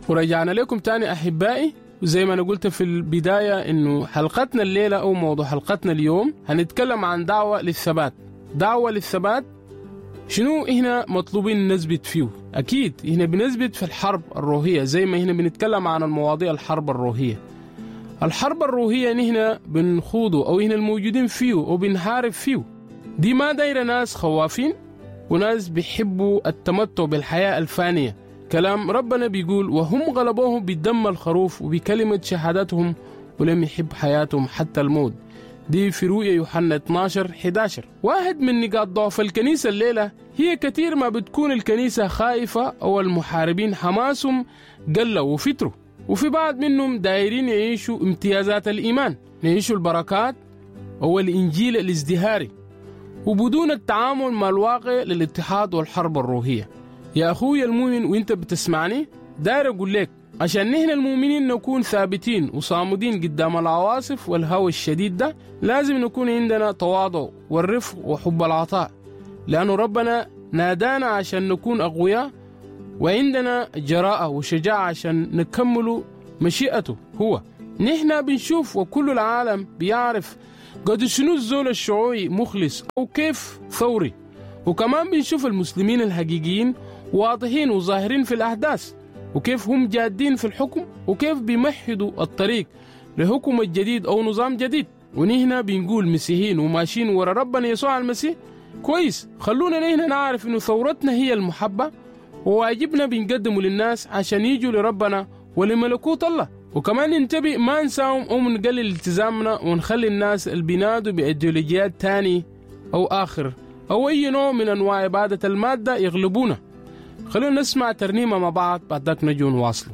ورجعنا لكم تاني أحبائي، وزي ما أنا قلت في البداية إنه حلقتنا الليلة أو موضوع حلقتنا اليوم هنتكلم عن دعوة للثبات. دعوة للثبات شنو هنا مطلوبين نثبت فيه؟ أكيد هنا بنثبت في الحرب الروحية، زي ما هنا بنتكلم عن المواضيع الحرب الروحية. الحرب الروحية نحن بنخوضه أو هنا الموجودين فيه وبنحارب فيه، دي ما دايرة ناس خوافين وناس بيحبوا التمتع بالحياة الفانية. كلام ربنا بيقول وهم غلبوهم بدم الخروف وبكلمة شهادتهم ولم يحب حياتهم حتى الموت. دي في رؤيا يوحنا 12:11. واحد من نقاط ضعف الكنيسة الليلة هي كثير ما بتكون الكنيسة خائفة أو المحاربين حماسهم قلوا وفتروا، وفي بعض منهم دايرين يعيشوا امتيازات الإيمان، يعيشوا البركات أو الإنجيل الازدهاري، وبدون التعامل مع الواقع للاتحاد والحرب الروحية. يا أخوي المؤمن وانت بتسمعني، داير أقول لك عشان نحن المؤمنين نكون ثابتين وصامدين قدام العواصف والهوى الشديد ده، لازم نكون عندنا تواضع والرفق وحب العطاء، لأنه ربنا نادانا عشان نكون أقوياء وعندنا جراءة وشجاعة عشان نكمل مشيئته هو. نحن بنشوف وكل العالم بيعرف قد شنو الزول الشعوعي مخلص أو كيف ثوري، وكمان بنشوف المسلمين الحقيقيين واضحين وظاهرين في الأحداث، وكيف هم جادين في الحكم، وكيف بيمهدوا الطريق لحكم الجديد أو نظام جديد. ونحن بنقول مسيحيين وماشيين ورا ربنا يسوع المسيح. كويس، خلونا نحن نعرف إنه ثورتنا هي المحبة، وواجبنا بنقدمه للناس عشان يجوا لربنا ولملكوت الله. وكمان ننتبه ما نساهم أو نقلل التزامنا ونخلي الناس اللي بينادوا بإيديولوجيات تاني أو آخر أو أي نوع من أنواع عبادة المادة يغلبونا. خلونا نسمع ترنيمة مع بعض، بعد ذاك نجوا نواصله.